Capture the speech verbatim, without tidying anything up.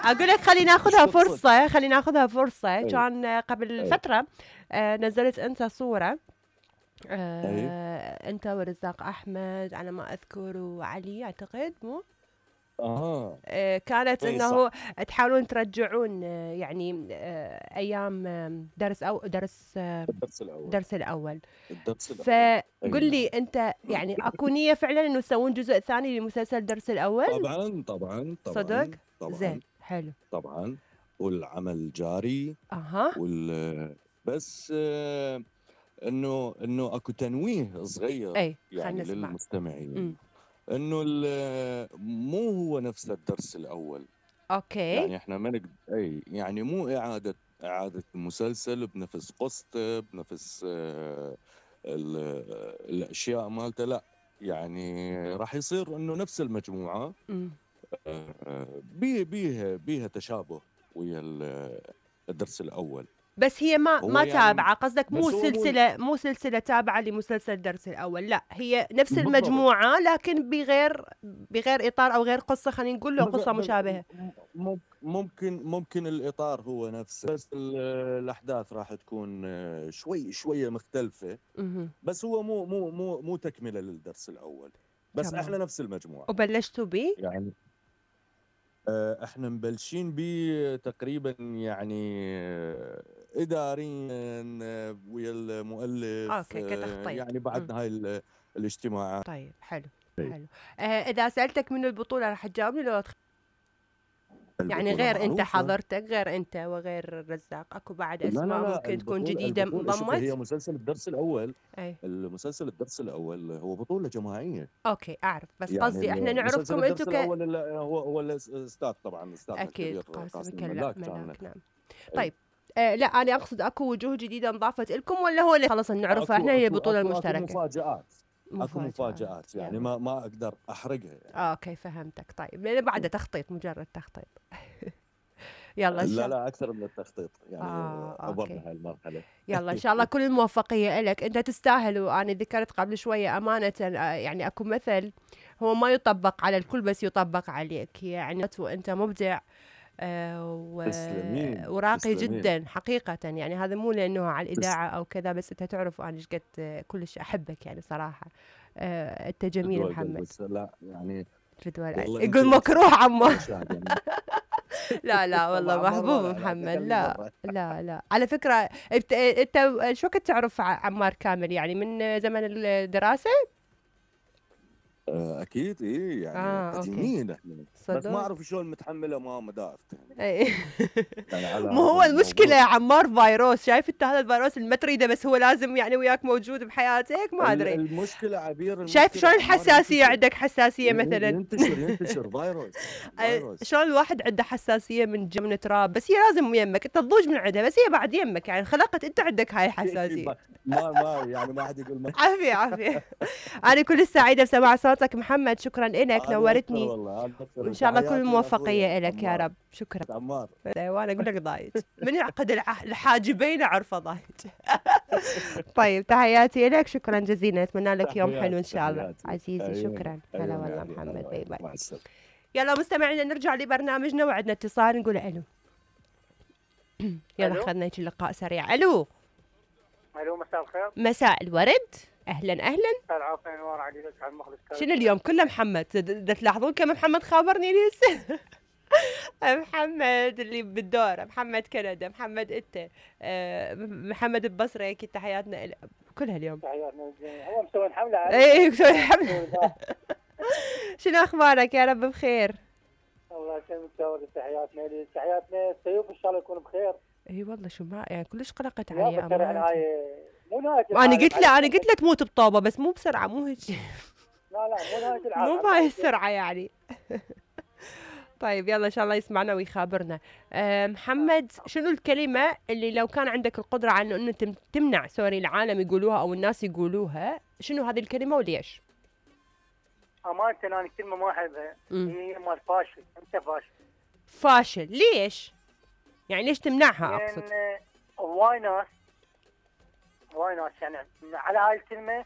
اقول لك خلينا ناخذها فرصه خلينا ناخذها فرصه كان قبل فتره آه نزلت انت صوره آه انت ورزاق احمد على ما اذكر وعلي اعتقد مو آه. آه كانت إي انه صح. تحاولون ترجعون آه يعني آه ايام آه درس او درس آه الدرس الاول الدرس الاول الدرس الاول فقل لي انت يعني اكو نيه فعلا انه يسوون جزء ثاني لمسلسل الدرس الاول؟ طبعا طبعا صدق؟ طبعا زين حلو طبعا والعمل جاري. اها وال بس آه انه انه اكو تنويه صغير اي يعني خلينا نسمع. للمستمعين امم انه ال- مو هو نفس الدرس الاول. اوكي يعني احنا ما نقدر اي يعني مو اعاده اعاده المسلسل بنفس قصته بنفس آه ال- الاشياء مالته، لا يعني راح يصير انه نفس المجموعه امم آه، بيه بيه بيها تشابه ويا ال- الدرس الاول. بس هي ما هو ما يعني تابعه قصدك مو بس هو مو سلسله مو سلسله تابعه لمسلسل الدرس الاول، لا هي نفس بالضبط. المجموعه لكن بغير بغير اطار او غير قصه، خلينا نقول له بغ- قصه بغ- مشابهه. مم- ممكن ممكن الاطار هو نفسه، بس ال- الاحداث راح تكون آه، شوي شويه مختلفه. اها بس هو مو مو مو مو تكمله للدرس الاول، بس تمام. احنا نفس المجموعه وبلشتوا بيه؟ يعني. آه، احنا مبلشين بيه تقريبا يعني آه، اداريا آه، ويا المؤلف اوكي آه، كتخطيط. يعني مم. بعد هاي ال- الاجتماعات. طيب حلو حلو. آه اذا سالتك من البطوله راح تجاوبني لو تخ... يعني البطوله غير انت معروفه. حضرتك غير انت وغير الرزاق اكو بعد لا لا اسماء لا ممكن تكون البطوله جديده البطوله شوف، هي انضمت؟ مسلسل الدرس الاول. اي المسلسل الدرس الاول هو بطوله جماعيه. اوكي اعرف، بس يعني قصدي احنا المسلسل نعرفكم انتم الدرس ك الاول اللي هو هو الاستاذ طبعا استاذنا اكيد الكبير قاسم قاسم كلا الملاك كان. ملاك نعم. اي طيب آه لا انا اقصد اكو وجوه جديده انضافت لكم ولا هو اللي خلص نعرفها احنا اكو هي اكو البطوله اكو اكو المشتركه؟ مفاجآت. اكو مفاجآت مفاجآت يعني يلا. ما ما اقدر احرقها يعني. آه اوكي فهمتك. طيب لان بعده تخطيط مجرد تخطيط. يلا ان لا شاء لا اكثر من التخطيط يعني. اه اوكي. عبرنا هاي المرحله. يلا ان شاء الله كل الموفقيه لك، انت تستاهل. وانا ذكرت قبل شويه امانه آه، يعني اكو مثل هو ما يطبق على الكل بس يطبق عليك، يعني وانت مبدع آه، و- تسلمين وراقي تسلمين. جدا حقيقة. يعني هذا مو لأنه على تس... الإذاعة أو كذا، بس أنت تعرف أنا إيش قد آه، كلش أحبك يعني صراحة. آه، أنت جميل فدوى قلبي محمد. بس لا يعني. فدوى العين. والله انت يقول انت مكروه عمار. اول شاهد يعني. لا لا والله مع محبوب مره لا لا محمد. تخلي لا مره. لا لا على فكرة انت انت شو كنت تعرف ع- عمار كامل يعني من زمن الدراسة؟ آه، اكيد ايه يعني اه اوكي قديمين احنا. بس ما صدق. اعرف شلون متحمله ما مدافته أي. يعني على مو هذا هو المشكلة الموضوع. يا عمار فيروس، شايف انت هذا الفيروس اللي ما تريده بس هو لازم يعني وياك موجود بحياتك، ما ال- ادري. المشكله عبير، شايف المشكله شلون عمار الحساسية ينتشر. عندك حساسية ين- مثلا. ينتشر ينتشر فيروس فيروس. شلون الواحد عنده حساسية من ج- من تراب، بس هي لازم يمك انت تضوج من عندها، بس هي بعد يمك يعني خلقت انت عندك هاي الحساسية. ما ما يعني ما حد يقول ما. عافية عافية. أنا كل سعيدة بسماع صوتك محمد، شكرا إلك انا اكثر نورتني. والله انا وإن اكثر. شاء الله كل تحياتي الموفقية لاخوي إلك يا عمار. رب. شكرا. عمار. وأنا أقول لك ضايج من يعقد الع- الحاجبين أعرفه ضايج. طيب تحياتي لك، شكرا جزيلا، أتمنى لك يوم حلو إن تحياتي شاء الله تحياتي عزيزي. عيوني شكرا هلا عيوني والله علي هلا محمد. باي والله. باي. مع السلامه. يلا مستمعينا نرجع لبرنامجنا، وعندنا اتصال نقول ألو. يلا ألو. خلنا نجي لقاء سريع. ألو الو مساء الخير. مساء الورد. أهلا أهلا. العافيه انوار علي لك عن مخلص. شنو اليوم كله محمد؟ دا تلاحظون كم محمد خابرني لسه. محمد اللي بالدور، محمد كندا، محمد انت آه، محمد البصري، اكيد تحياتنا إل... كلها اليوم. تحياتنا للجميع. هو مسوي حمله علي. اي مسوي حمله. شنو اخبارك؟ يا رب بخير. الله يسلمك تسوي تحياتنا لي تحياتنا السيوف ان شاء الله يكون بخير. اي والله شو ما يعني كلش قلقت يا علي بكره امانه. هاي مو نهايه انا العالم. قلت له انا قلت له تموت بطوبه بس مو بسرعه، مو هيك. لا لا مو نهايه العالم. مو بهاي السرعه يعني. طيب يلا ان شاء الله يسمعنا ويخابرنا. أه محمد شنو الكلمه اللي لو كان عندك القدره على انه تم- تمنع سوري العالم يقولوها او الناس يقولوها، شنو هذه الكلمه وليش؟ امانه انا كلمه ما احبها مم. هي مال فاشل. انت فاشل. فاشل ليش؟ يعني ليش تمنعها اقصد؟ لان هواي ناس هواي ناس يعني على هاي الكلمه